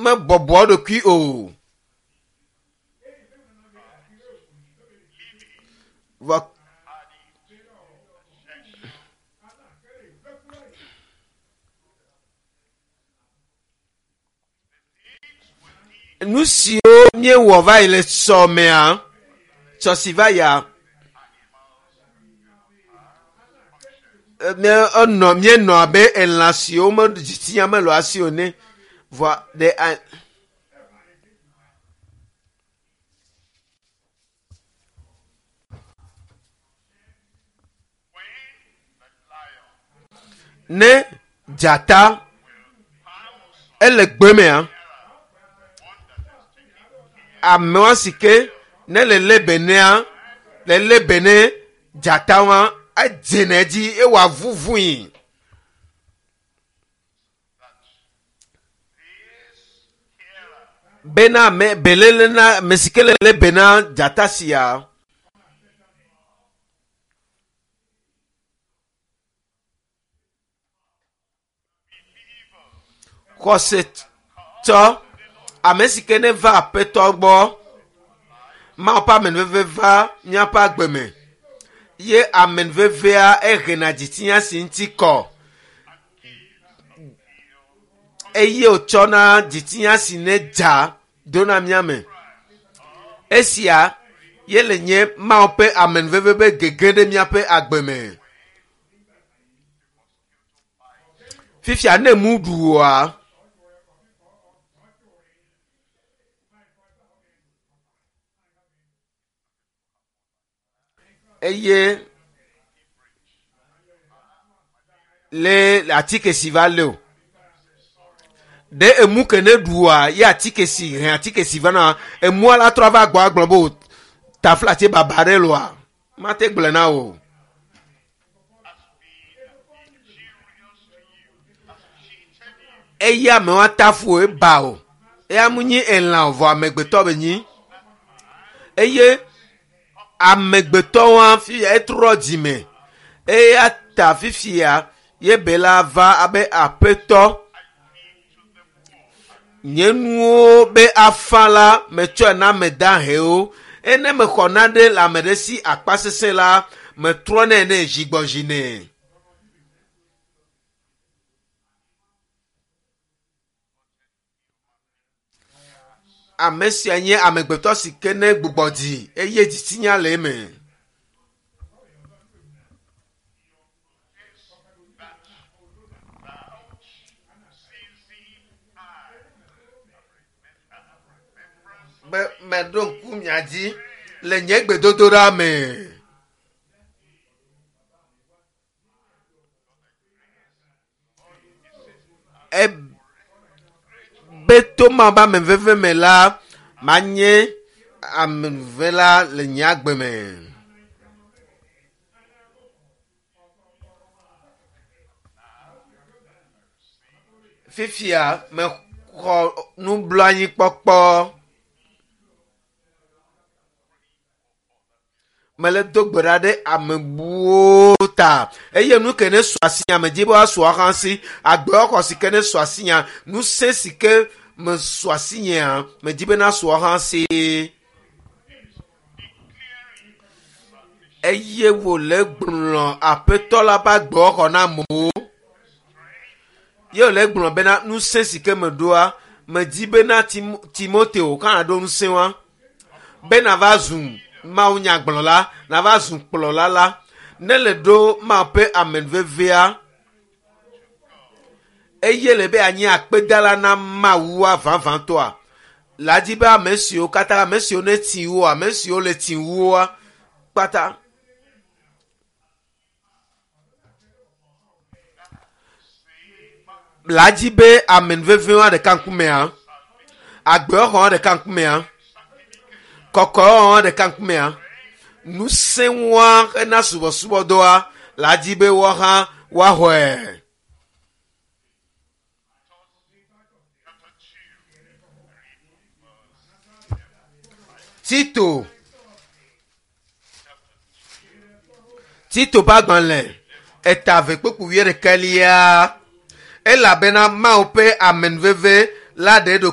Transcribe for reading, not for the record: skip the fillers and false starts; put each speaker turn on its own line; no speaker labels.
mebɔbɔ eɖokui o. Vɔ nu siwo míewɔ va yi le sɔmea, sɔ si va yia, enɔ míenɔ abe elã siwo me dzitsinya mele asi o ene. Vɔa ɖe a. Ne dzata ele gbe mea, amewa si ke ne le lé be nea, le lé be ne dzata wa, edzena edzi eye wòavuvui. Bena ame beléle na ame si ke le lé be na dzata sia. Xɔsetɔ, ame si ke neva Aƒetɔ gbɔ, Mawu ƒe amenuveve va míaƒe agbe me. Ye amenuvevea ehena dzitsinya si ŋuti kɔ eye wòtsɔna dzitsinya si ne dza dona mía me. Esia ye le nye Mawu ƒe amenuveve be gege ɖe míaƒe agbe me. Fifia ne mu ɖu oa, eye le atike si va lé o. Ɖe emu ke ne ɖua ye atike si hɛn atike si va na emua la trɔ va gbɔ agblɔ be o taflatse baba ɖe loa mate gblɔe na wò. Eya ame wa tafu eba o. Eya mu nyi elã o vɔ amegbetɔ be nyi. Eye amegbetɔ wa fifia etrɔ dzime. Eya ta fifia ye be la va abe aƒetɔ. Nye nuwo be afã la metsɔe na ame dahewo. Eye ne mexɔ nane le ame ɖe si akpa sesẽ la, metrɔnɛ nɛ zigbɔzi nɛ. Ame sia nye amegbetɔ si ke ne gbugbɔ dzi eye dzitsinya le eme. Be meɖo ŋku mia dzi le nye gbedodoɖa me. Ebe to ma be ame veve me la, manye ame vela le nye agbe me. Fifia mexɔ nublanuikpɔkpɔ. Mele do gbe ɖa ɖe ame buwo ta eye nu ke ne su asinya medzi be woasu woaxɔ asi agbewoxɔ si ke ne su asinya ŋusẽ si ke mesu asinyea medzi be nasu woaxɔ asi. Eye wòle gblɔ aƒetɔ la ƒe agbewoxɔ na amewo. Ye wòle gblɔ bena ŋusẽ si ke meɖoa medzi bena Tim Timoteo hã ɖo ŋusẽ wa be nava zu mawunyagblɔla nava zu kplɔla la ne le ɖo Mawu ƒe amenuvevea eye le be anyi akpedala na Mawua vavãtɔa la dzi be ame siwo katã ame siwo ne tsi wo ame siwo le tsi woa kpata la dzi be amenuvevewa ɖeka ŋkumea agbewɔxɔ ɖeka ŋkumea kɔkɔewɔwɔ ɖeka ŋkumea ŋusẽwoa hena subɔsubɔdɔa la dzi be woahã woaxɔe. Tito Tito ƒe agbalẽ eta eve kpukpui wuiɖekɛlia elabena Mawu ƒe amenuveve la ɖe eɖokui.